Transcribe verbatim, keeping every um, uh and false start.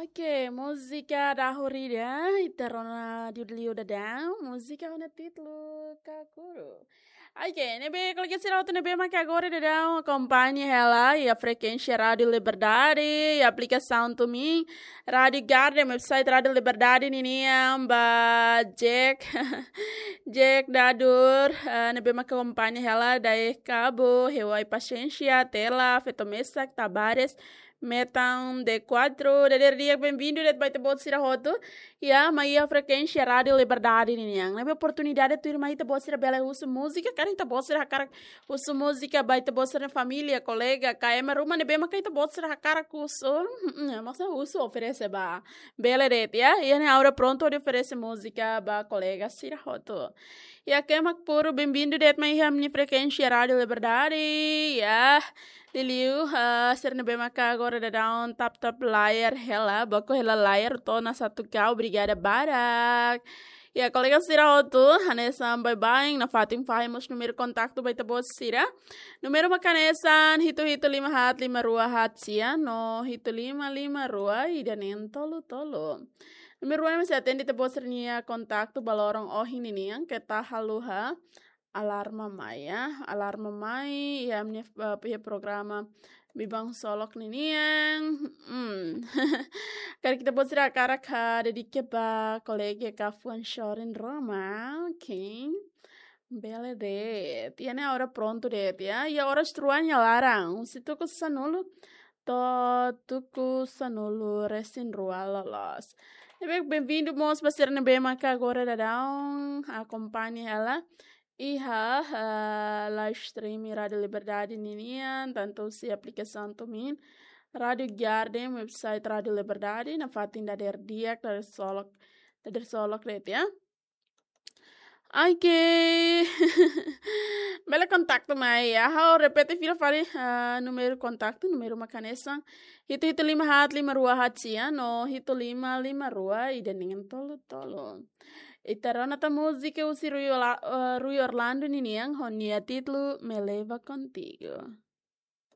Oke, múzika dahulida, ita rona liu daudaun, múzika ho nia títulu Kakuru. Oke, ne'ebé kolega sira hotu ne'ebé maka agora daudaun akompaña hela iha frekuénsia Rádiu Liberdade, iha aplikasaun TuneIn, Rádiu Garden, website Rádiu Liberdade ninian, ba Jack, Jack Dadur, eh, ne'ebé maka akompaña hela dadaun Cabo, Hewai Paciência, Tela, Feto Mesak, Tavares, Metan D quatro, dadeer di'ak, benvindu de'it ba ita-boot sira hotu. Ya, mai iha frekuénsia Rádiu Liberdade ninian. Ne'ebé oportunidade tuirmai ita-boot sira bele husu múzika, karik ita-boot sira hakarak husu múzika ba ita-boot sira-nia família, kolega, ka ema ruma ne'ebé maka ita-boot sira hakarak husu. Mm, maksudnya husu oferese ba. Bele de'it, ya. Iha ne'e ha'u prontu hodi oferese múzika ba kolega sira hotu. Ya, ema Cabo, benvindu de'it mai iha ami-nia frekuénsia Rádiu Liberdade. Ya, liuliu, eh, sira ne'ebé maka agora daudaun tap-tap layar hela, baku hela layar to'o ona satu K, obrigada barak. Ya, kolega sira hotu, hanesan baibain, nafatin fahe mós númeru kontaktu ba ita-boot sira. Númeru maka hanesan hitu hitu lima haat lima rua haat sia, no hitu lima lima rua ida neen tolu tolu. Númeru ne'e sei atende ita-boot sira-nia kontaktu ba loron ohin ninian, keta haluha alarma mai, ya. Alarma mai, iha ami-nia, eh, iha programa Biban Solok ninian. Hmm. Karik ita-boot sira hakarak, ah, dedika ba kolega ka fuan sorin ruma, oke. Bele de'it. Iha ne'e ha'u prontu de'it, ya. Iha oras rua nia laran, husi tuku sanulu to'o tuku sanulu resin rua loloos. Ne'ebé benvindu mós ba sira ne'ebé maka agora daudaun akompaña hela iha, eh, live stream Rádiu Liberdade ninian, tantu husi aplikasaun TuneIn, Rádiu Garden, website Rádiu Liberdade, nafatin dadeer di'ak, dadeer solok, dadeer solok de'it, ya. Oke. Bele kontaktu mai, ya. Ha'u repete fila fali, ah, númeru kontaktu, númeru maka hanesan hitu hitu lima haat lima rua haat sia, no hitu lima lima rua ida neen tolu tolu. Ita rona tan múzika husi Rui Ola-, eh, Rui Orlando ninian, ho nia títulu Me Leva Contigo.